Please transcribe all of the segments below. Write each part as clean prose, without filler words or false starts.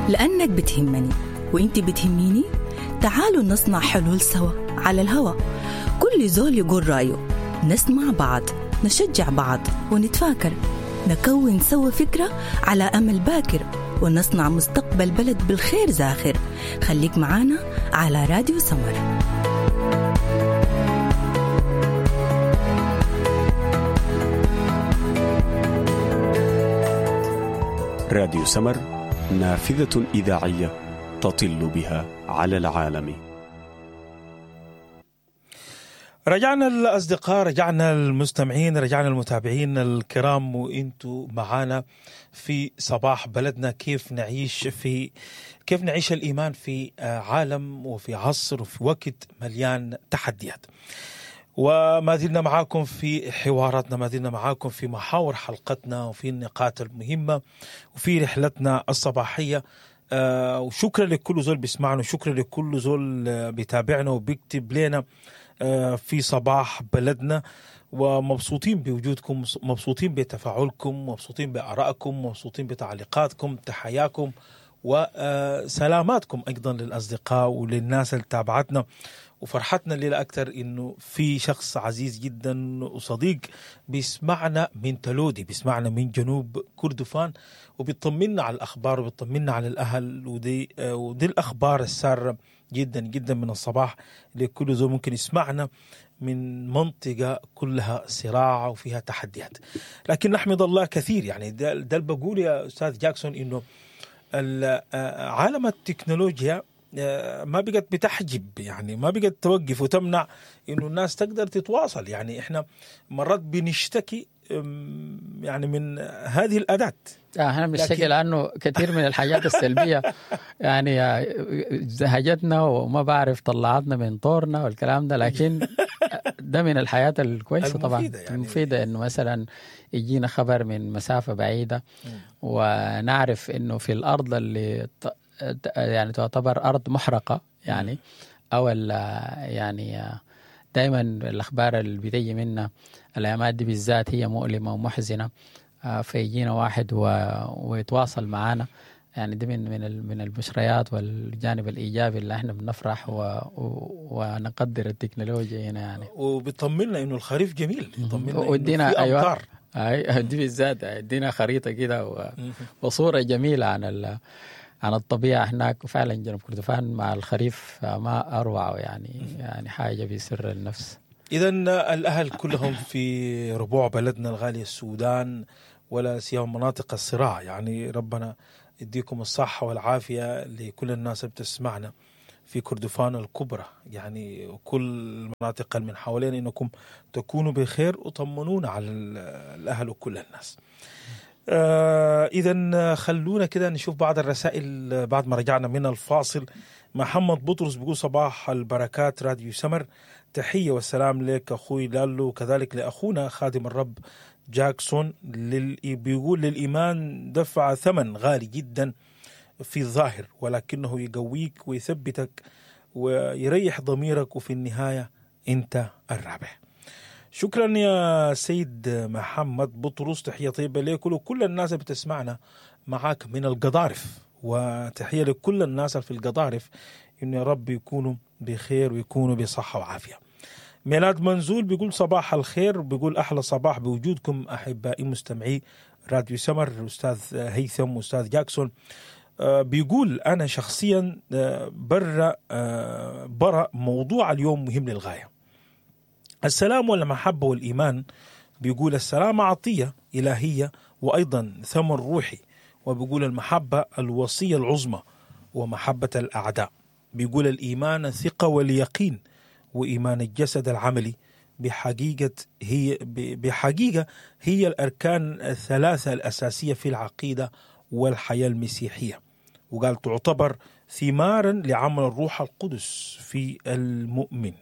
لأنك بتهمني وإنت بتهميني. تعالوا نصنع حلول سوا على الهوا، كل زول يقول رأيه، نسمع بعض، نشجع بعض، ونتفاكر، نكون سوا فكرة على أمل باكر، ونصنع مستقبل بلد بالخير زاخر. خليك معانا على راديو سمر. راديو سمر، نافذة إذاعية تطل بها على العالم. رجعنا الأصدقاء، رجعنا المستمعين، رجعنا المتابعين الكرام، وإنتوا معانا في صباح بلدنا. كيف نعيش الإيمان في عالم وفي عصر وفي وقت مليان تحديات. وما زلنا معاكم في حواراتنا، ما زلنا معاكم في محاور حلقتنا وفي النقاط المهمة وفي رحلتنا الصباحية. وشكرا لكل زول بيسمعنا، وشكرا لكل زول بيتابعنا وبيكتب لنا في صباح بلدنا. ومبسوطين بوجودكم، مبسوطين بتفاعلكم، مبسوطين بآرائكم، مبسوطين بتعليقاتكم، تحياكم وسلاماتكم أيضا للأصدقاء وللناس اللي تابعتنا. وفرحتنا الليلة أكثر إنه في شخص عزيز جدا وصديق بيسمعنا من تلودي، بيسمعنا من جنوب كردفان، وبيطمنا على الأخبار وبيطمنا على الأهل. ودي الأخبار السارة جدا جدا من الصباح لكل زول ممكن يسمعنا من منطقة كلها صراع وفيها تحديات. لكن نحمد الله كثير. يعني ده اللي بقول يا أستاذ جاكسون، إنه عالم التكنولوجيا ما بقت بتحجب، يعني ما بقت توقف وتمنع إنه الناس تقدر تتواصل. يعني إحنا مرات بنشتكي يعني من هذه الأداة. احنا بنشتكي لأنه كثير من الحاجات السلبية يعني زهجتنا وما بعرف طلعتنا من طورنا والكلام ده، لكن ده من الحياة الكويسة طبعا، يعني المفيدة، إنه مثلا يجينا خبر من مسافة بعيدة ونعرف إنه في الأرض اللي يعني تعتبر أرض محرقة يعني، أو يعني دايما الأخبار اللي بتيجي منا الأيامات دي بالذات هي مؤلمة ومحزنة، فيجينا واحد ويتواصل معانا. يعني دي من البشريات والجانب الإيجابي اللي احنا بنفرح ونقدر التكنولوجيا هنا يعني. وبيطمنا إنه الخريف جميل، بيطمنا إنه في أمطار. أيوة دي بالذات ادينا خريطة كده وصورة جميلة عن الطبيعة هناك. وفعلا جنوب كردفان مع الخريف ما أروع، يعني حاجة بيسر النفس. إذن الأهل كلهم في ربوع بلدنا الغالي السودان، ولا سيما مناطق الصراع، يعني ربنا يديكم الصحة والعافية لكل الناس اللي بتسمعنا في كردفان الكبرى، يعني وكل المناطق من حوالين، إنكم تكونوا بخير وطمنونا على الأهل وكل الناس. إذن خلونا كده نشوف بعض الرسائل بعد ما رجعنا من الفاصل. محمد بطرس بيقول صباح البركات راديو سمر، تحية والسلام لك أخوي لالو، وكذلك لأخونا خادم الرب جاكسون. بيقول للإيمان دفع ثمن غالي جدا في الظاهر، ولكنه يقويك ويثبتك ويريح ضميرك، وفي النهاية أنت الرابح. شكرا يا سيد محمد بطرس، تحية طيبة لك ولكل الناس اللي بتسمعنا معاك من القضارف، وتحية لكل الناس في القضارف، إنه يا رب يكونوا بخير ويكونوا بصحة وعافية. ميلاد منزول بيقول صباح الخير، بيقول أحلى صباح بوجودكم أحبائي مستمعي راديو سمر، أستاذ هيثم وأستاذ جاكسون. بيقول أنا شخصيا برا موضوع اليوم مهم للغاية، السلام والمحبة والإيمان. بيقول السلام عطية إلهية وأيضا ثمر روحي، وبيقول المحبة الوصية العظمى ومحبة الأعداء. بيقول الإيمان الثقة واليقين، وإيمان الجسد العملي بحقيقة هي الأركان الثلاثة الأساسية في العقيدة والحياة المسيحية. وقال تعتبر ثمارا لعمل الروح القدس في المؤمن،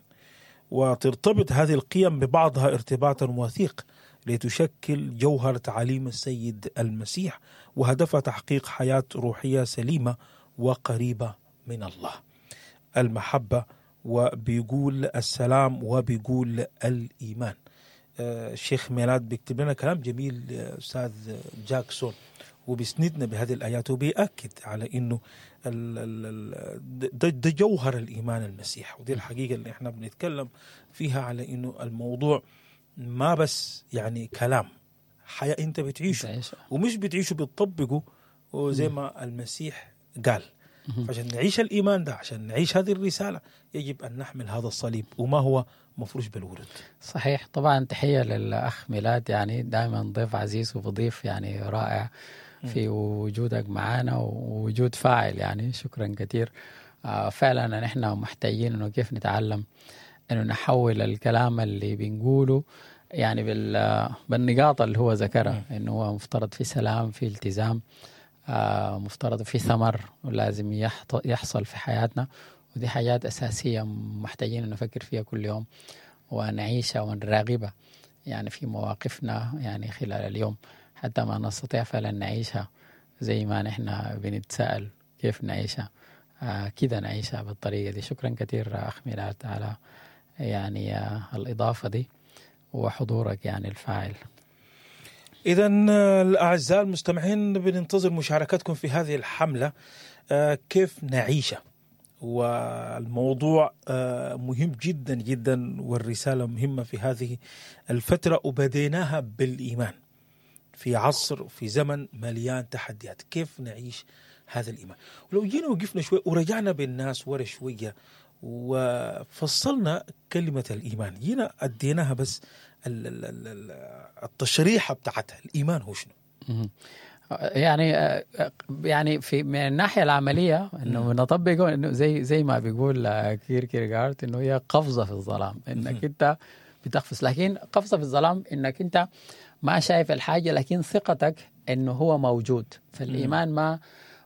وترتبط هذه القيم ببعضها ارتباطا وثيق لتشكل جوهر تعاليم السيد المسيح، وهدفها تحقيق حياة روحية سليمة وقريبة من الله. المحبة، وبيقول السلام، وبيقول الإيمان. الشيخ ميلاد بيكتب لنا كلام جميل أستاذ جاكسون، وبيسندنا بهذه الايات وبيأكد على انه ده جوهر الايمان المسيح، ودي الحقيقة اللي احنا بنتكلم فيها على انه الموضوع ما بس يعني كلام، حياة انت بتعيشه ومش بتعيشه بتطبقه وزي ما المسيح قال. فعشان نعيش الإيمان ده، عشان نعيش هذه الرسالة، يجب أن نحمل هذا الصليب وما هو مفروش بالورد. صحيح. طبعا تحية للأخ ميلاد، يعني دائما ضيف عزيز وبضيف يعني رائع في وجودك معنا ووجود فاعل، يعني شكرا كثير. فعلا نحن محتاجين انه كيف نتعلم انه نحول الكلام اللي بنقوله يعني بالنقاط اللي هو ذكرها، انه هو مفترض في سلام، في التزام، مفترض في ثمر ولازم يحصل في حياتنا، ودي حاجات أساسية محتاجين أن نفكر فيها كل يوم ونعيشها ونراقبها يعني في مواقفنا يعني خلال اليوم، حتى ما نستطيع فعلا نعيشها زي ما نحن بنتساءل كيف نعيشها، كده نعيشها بالطريقة دي. شكرا كثير أخ ميلاد على يعني الإضافة دي وحضورك يعني الفاعل. إذا الأعزاء المستمعين بننتظر مشاركتكم في هذه الحملة، كيف نعيشها، والموضوع مهم جدا جدا والرسالة مهمة في هذه الفترة، وبديناها بالإيمان في عصر في زمن مليان تحديات، كيف نعيش هذا الإيمان. ولو جينا وقفنا شوي ورجعنا بالناس ورا شوية وفصلنا كلمة الإيمان، جينا أديناها بس التشريحة بتاعتها، الإيمان هو شنو؟ يعني في من الناحية العملية إنه نطبقه، إنه زي ما بيقول كيركيغارد إنه هي قفزة في الظلام، إنك أنت بتقفز، لكن قفزة في الظلام إنك أنت ما شايف الحاجة لكن ثقتك إنه هو موجود. فالإيمان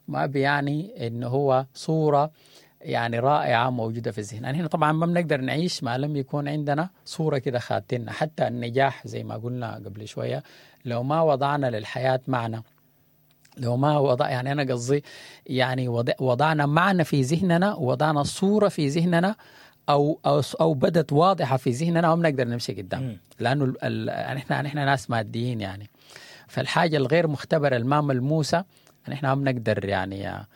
ما بيعني إنه هو صورة يعني رائعة موجودة في الذهن. يعني هنا طبعا ما بنقدر نعيش ما لم يكون عندنا صورة كده خاتنا. حتى النجاح زي ما قلنا قبل شوية، لو ما وضعنا للحياة معنى، لو ما وضع يعني أنا قصدي يعني وضعنا معنى في ذهننا، وضعنا صورة في ذهننا أو أو أو بدت واضحة في ذهننا، ما بنقدر نمشي قدام، لأنه نحن ناس ماديين يعني. فالحاجة الغير مختبرة الما ملموسة نحن ما بنقدر يعني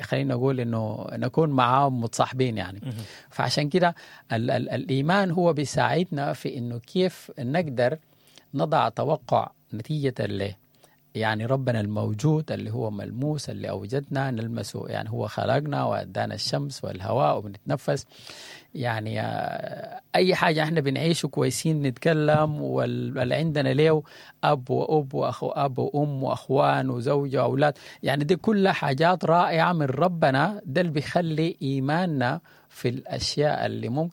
خلينا نقول انه نكون معاهم متصاحبين يعني. فعشان كده الايمان هو بيساعدنا في انه كيف نقدر نضع توقع نتيجة له، يعني ربنا الموجود اللي هو ملموس اللي اوجدنا نلمسه، يعني هو خلقنا وادانا الشمس والهواء وبنتنفس، يعني اي حاجة احنا بنعيشه كويسين نتكلم، واللي عندنا ليه اب واب واخو اب وام واخوان وزوجه واولاد، يعني دي كلها حاجات رائعة من ربنا. ده اللي بيخلي ايماننا في الاشياء اللي ممكن